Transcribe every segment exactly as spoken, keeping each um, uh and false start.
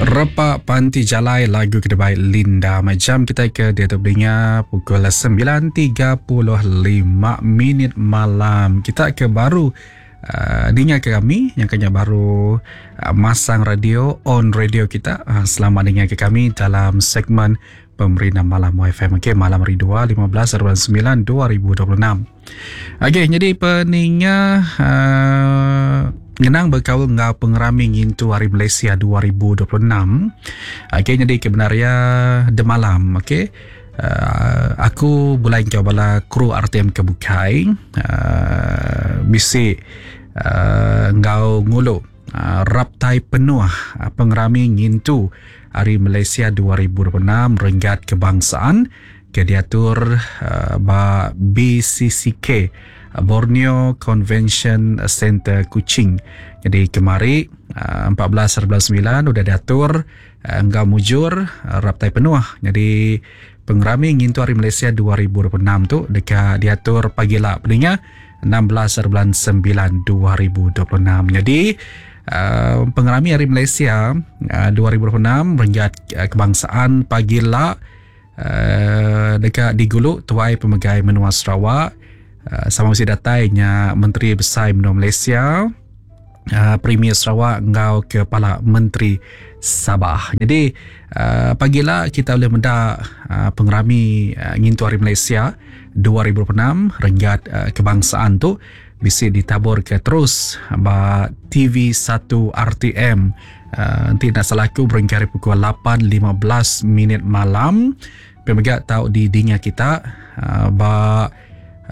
Repa Panti Jalai lagu kedebai Linda. Macam kita ke dia tu beringat pukul sembilan tiga puluh lima minit malam. Kita ke baru uh, dengar ke kami yang kena baru uh, masang radio on radio kita. Uh, selamat dengar ke kami dalam segmen Pemerintah Malam Y F M. Okey, malam hari dua lima belas bulan sembilan dua ribu dua puluh enam. Okey, jadi peninga uh, ngenang berkaul ngau pengerami ngintu Hari Malaysia dua ribu dua puluh enam. Okey, jadi kebenarannya demalam, okey. Uh, aku bulai kau bala kru R T M kebukai uh, bisi uh, ngau ngulu uh, raptai penuh uh, pengerami ngintu Hari Malaysia dua ribu dua puluh enam renggat kebangsaan ke diatur uh, ba B C C K Borneo Convention Center Kuching. Jadi kemari uh, empat belas bulan sembilan udah diatur uh, enggau mujur uh, raptai penuh. Jadi pengerami ngintu Hari Malaysia dua ribu dua puluh enam tu dekat diatur pagi lah peninga enam belas bulan sembilan dua ribu dua puluh enam. Jadi Uh, pengerami Hari Malaysia uh, dua ribu dua puluh enam renggat uh, kebangsaan pagi lah uh, dekat di Guluk Tuai Pemegai Menua Sarawak uh, sama mesti datainya Menteri Besar Menua Malaysia uh, Premier Sarawak ngau Kepala Menteri Sabah. Jadi uh, pagi lah kita boleh mendak uh, pengerami uh, ngintu Hari Malaysia dua ribu dua puluh enam renggat uh, kebangsaan tu bisa ditabur ke terus ba T V satu R T M. Uh, nanti nak salah aku berengkari pukul lapan lima belas minit malam. Pemegak tahu di dinga kita uh, ba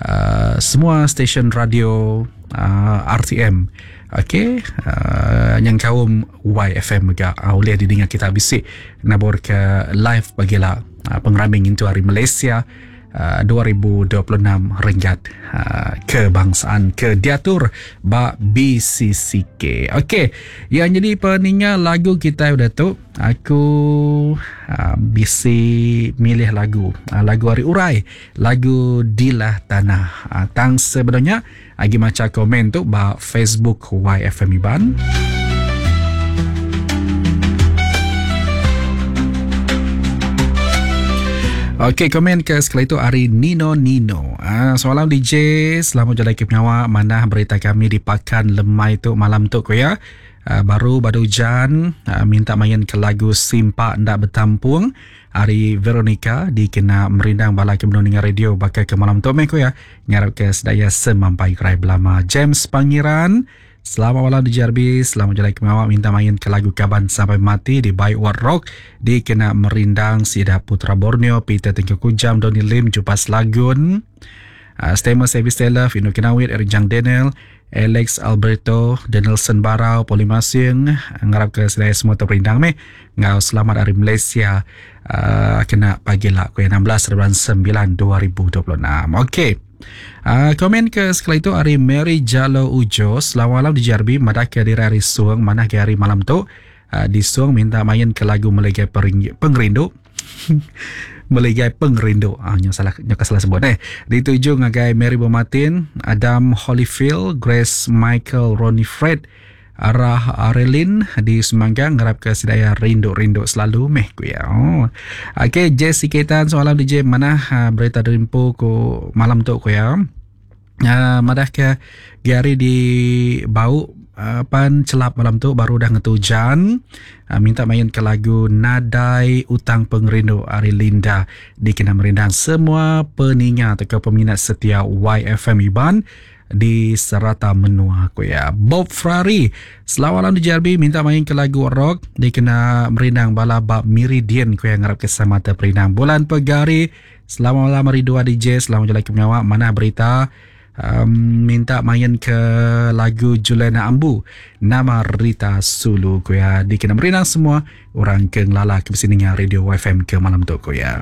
uh, semua stesen radio uh, R T M. Okey, uh, yang kaum Y F M juga uh, boleh didengar kita bisik nabur ke live bagilah uh, pengeraming itu Hari Malaysia Uh, dua ribu dua puluh enam renggat uh, kebangsaan ke diatur ba B C C K. Okey, yang jadi peninga lagu kita udah tu, aku uh, bisi milih lagu uh, lagu Hari Urai, lagu Dilah Tanah. Uh, tang sebenarnya agi maca komen tu ba Facebook Y F M Iban. Okey, komen ke sekali itu hari Nino Nino. Ah, semalam D J, selamat jalan ke pengawak mana berita kami di Pakan Lemai tu malam tu ko ya. Ah, baru badu hujan, ah, minta main ke lagu Simpak Ndak Bertampung hari Veronica dikena merindang bala ke mendengar radio bakal ke malam tu meh ko ya. Ngarap ke sedaya semampai kerai belama. James Pangeran, selamat malam di J R B, selamat jalan ke mawak minta main ke lagu Kaban Sampai Mati di By What Rock dikena merindang Sida Putra Borneo, Peter Tengku Kujam, Donny Lim, Jupas Lagun, uh, Stema Service Taylor, Fino Kenawit, Eric Jang Daniel, Alex Alberto, Danielson Barau, Poli Masing, ngarap ke sedaya semua terperindang meh. Ngau selamat hari Malaysia uh, kena pagi lah ku enam belas bulan sembilan dua ribu dua puluh enam. Okey. Uh, komen ke sekali itu hari Mary Jalo Ujo, selamat malam di J R B, madah ke diri hari suang, mana ke hari malam tu uh, di suang minta main ke lagu Melegai Pengerindu. Melegai Pengerindu. Ah, nyo salah, nyo salah sebut eh. Dituju ngagai Mary Bomatin, Adam Holyfield, Grace Michael, Ronnie Fred, Arah Arelin di Semanggang, ngarap ke sedaya rindu-rindu selalu meh ku ya. Oh. Okey, Jesse Ketan soalan D J mana ha, berita derimpu ku malam tu ku ya. Uh, madah ke Gary di bau uh, pan celap malam tu baru dah ngetu hujan. Uh, minta main ke lagu Nadai Utang Pengerindu Ari Linda dikena merindang semua peninga atau peminat setia Y F M Iban di serata menua aku ya. Bob Ferrari, selamat malam di J R B, minta main ke lagu rock dikena merindang bala bab Meridian ku yang ngarap kesama terperindang. Bulan Pegari, selamat malam hari dua D J, selamat jalan ke pengawak mana berita um, minta main ke lagu Juliana Ambu nama Rita Sulu ku ya dikena merindang semua orang ke ngelala ke sini radio Y F M ke malam tu ku ya.